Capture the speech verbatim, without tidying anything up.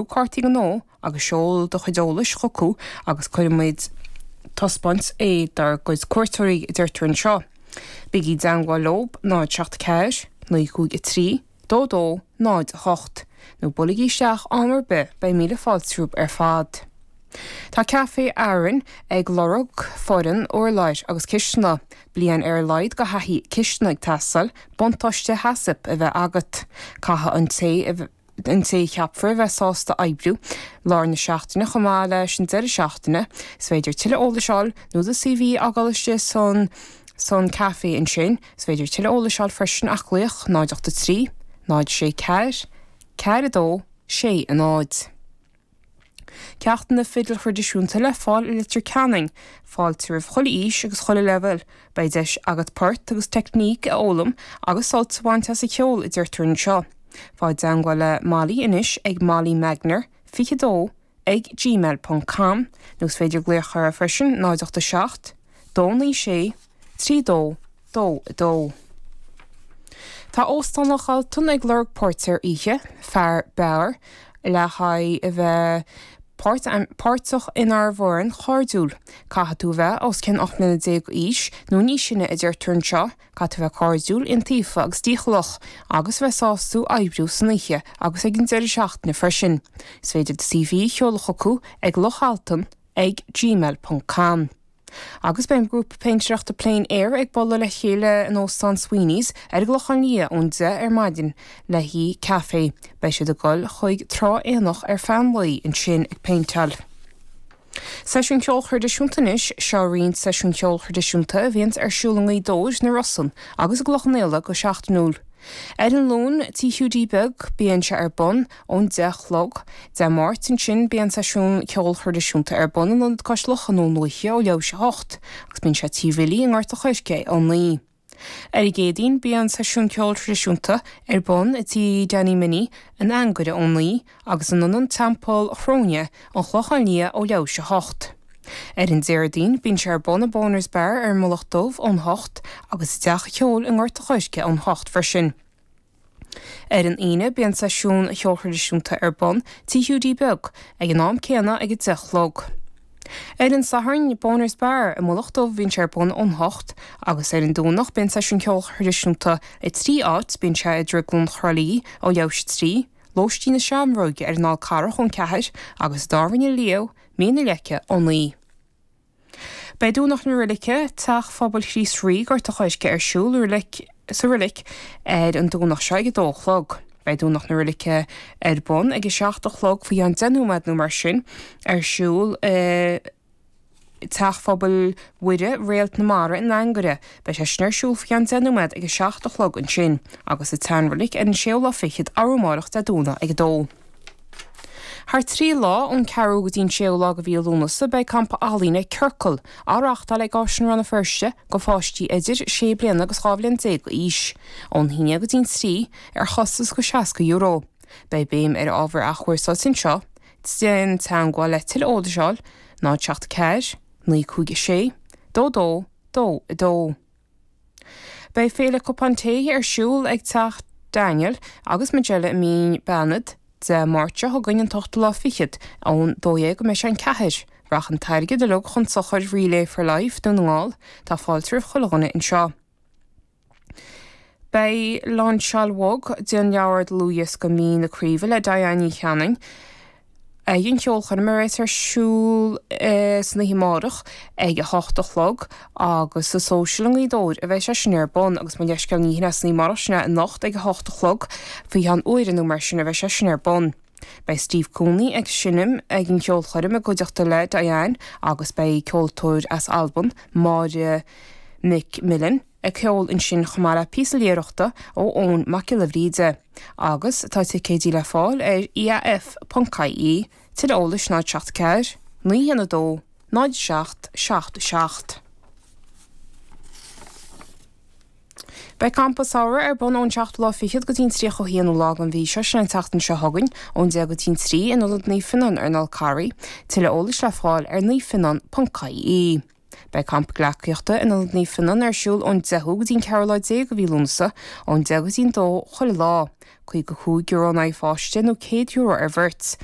cártaí gnó agus seol do chuid eolais chucu agus cuirfimid taispeáint é dár gcuid cuairteoirí a deirtear anseo. Bígí i dteagmháil leo náid seacht ceathair, naoi cúig a trí, dó dó, náid a hocht, nó buailigí isteach am ar bith, beidh míle fáilte romhaibh ar fad. Tá Café Arann ag lorg foireann urláir agus cistine, bliain ar a laghad de thaithí cistine ag teastáil, buntáiste HACCP a bheith agat. Caithfidh an té an té a cheapfar a bheith sásta oibriú lár na seachtaine chomh maith leis an deireadh seachtaine. Is féidir tuilleadh eolais a fháil nó do CV a fhágáil istigh san san café ansin. Is féidir tuilleadh eolais a fháil freisin ach glaoch náid ocht a trí, náid sé ceathair, ceathair a dó, sé a náid. Ceachtanna fidil thraidisiúnta le fáil i Leitir Ceanainn, fáilte roimh chuile aois agus chuile leibhéal. Beidh deis agat port agus teicníc a fhoghlaim agus sult a bhaint as an cheol a deirtear anseo. Faigh i dteagmháil le Molly anois ag Molly Magner fiche dó ag gmail ponc com nó is féidir glaoch uirthi freisin náid ocht a seacht, dó naoi sé, trí dó, dó a dó. Tá Óstán Loch Altan ag lorg póirtéir oíche, fear beáir, le haghaidh a bheith páirteach inár bhfoireann chairdiúil. Caithfidh tú a bheith os cionn ocht mbliana déag d'aois nó níos sine a deirtear anseo, caithfidh tú a bheith cairdiúil, iontaofa agus dícheallach, agus a bheith sásta oibriú san oíche agus ag an deireadh seachtaine freisin. Is féidir do CV a sheoladh chucu ag lochaltan ag gmail ponc com. Agus beidh an grúpa péintéireachta Plein Air ag bualadh le chéile in Óstán Sweeney's ar an gClochán Liath ón deich ar maidin le haghaidh caife. Beidh siad ag dul chuig Trá Éanach ar feadh an lae ansin ag péinteáil. Seisiún ceoil thraidisiúnta anois, seo roinnt seisiún ceoil thraidisiúnta a bhíonns ar siúl i nGaoth Dobhair, na Rosann agus i gCloich Cheann Fhaola go seachtainiúil. Ar an Luan, Tí Hiúdaí Beag, bíonn sé ar bun ón deich a chlog. Dé Máirt ansin bíonn seisiún ceoil thraidisiúnta ar bun in Ionad Cois Locha i nDún Lúiche ó leathuair théis a hocht agus bíonn sé Tí Bhilly i nGort a' Choirce ón naoi. Ar an gCéadaoin bíonn seisiún ceoil thraidisiúnta ar bun i dTí Danny Minnie in Anagaire ón naoi agus in Ionad Teampall Chróine, An Clochán Liath ó leathuair théis a hocht. Ar an Déardaoin, bíonn sé ar bun i Boners Bar ar an Mullach Dubh ón hocht agus i dTeach an Cheoil i nGort a' Choirce ón hocht freisin. Ar an Aoine, bíonn seisiún cheoil thraidisiúnta ar bun Tí Hiúdaí Beag ag an am céanna ag a deich a chlog. Ar an Satharn, Boners Bar i Mullach Dubh bíonn sé ar bun ón hocht agus ar an Domhnach bíonn seisiún ceoil thraidisiúnta i trí áit, bíonn sé i Drioglann Thrá Lí ó leathuair théis a trí, Lóistín na Seamróige ar an Fhál Carrach ón ceathair agus i dTábhairne Leo, Mín na Leice ó naoi. Beidh Domhnach na Roilice, Teach Phobail Chríost Rí, Gort a' Choirce ar siúl sa roilic ar an Domhnach seo ag a dó a chlog. Beidh Domhnach na Roilice ar bun ag a seacht a chlog faoi cheann deich nóiméad nó mar sin ar siúl i Teach Phobail Mhuire, Réalt na Mara in Anagaire. Beidh sé sin ar siúl faoi cheann deich nóiméad ag a seacht a chlog ansin agus sa tSeanroilic ar an séú lá fichead arú amárach Dé Domhnaigh ag a dó. Thar trí lá, ón ceathrú go dtí an séú lá de mhí Lúnasa, beidh Campa Ealaíne Ciorcal á reáchtáil ag Áislann Rann na Feirste do pháistí idir sé bliana agus dhá bhliain déag d'aois, ón haon go dtí an trí, ar chostas de seasca euro. Beidh béim ar ábhar athchúrsáilte anseo. Déan teagmháil le tuilleadh eolais a fháil, náid seacht ceathair, naoi cúig a sé, dó dó, dó a dó. Beidh Féile Cupán Tae ar siúl ag Teach Daniel agus Majella i Mín Beanad Dé Máirt seo chugainn an t-ochtú lá fichead, ón dó dhéag go mbeidh sé an ceathair. Rachaidh an t-airgead uilig chun sochair Relay for Life Dún na nGall. Tá fáilte roimh chuile dhuine anseo. Beidh lainseáil bhog den leabhar dlúthdhiosca Mín na Craoibhe le Diane Ní Chanainn ag an cheolchoirm a bheas ar siúl san oíche amárach ag a hocht a chlog agus sa Social i nGaoth Dobhair a bheidh sé sin ar bun agus mo leithscéal ní hin é san oíche amárach sin é anocht ag a hocht a chlog faoi cheann uaire nó mar sin a bheidh sé sin ar bun. Beidh Steve Cooney ag seinm ag an cheolchoirm i gcuideachta le Diane agus beidh ceoltóir as Albain, Máire McMillan, ag ceol ansin chomh maith le píosa léitheoireachta ó Eoin Mac Giolla Bhríde. Agus tá ticéidí le fáil ar IAF ponc IE, tuilleadh eolais náid seacht ceathair, naoi haon a dó, náid seacht seacht seacht. Beidh Campa Samhraidh ar bun ón seachtú lá fichead go dtí an tríocha haonú lá den mhí seo, sin an tseachtain seo chugainn, ón deich go dtí an trí in Ionad Naomh Fionnán ar an Fhál Carraigh. Tuilleadh eolais le fáil ar naomhfhionnán ponc IE. Beidh campa gleacaíochta in Ionad Naomh Fionnán ar siúl ón deichiú go dtí an ceathrú lá déag de mhí Lúnasa ón deich go dtí an dó chuile lá. Caoga cúig euro in aghaidh pháiste nó céad euro ar bheirt.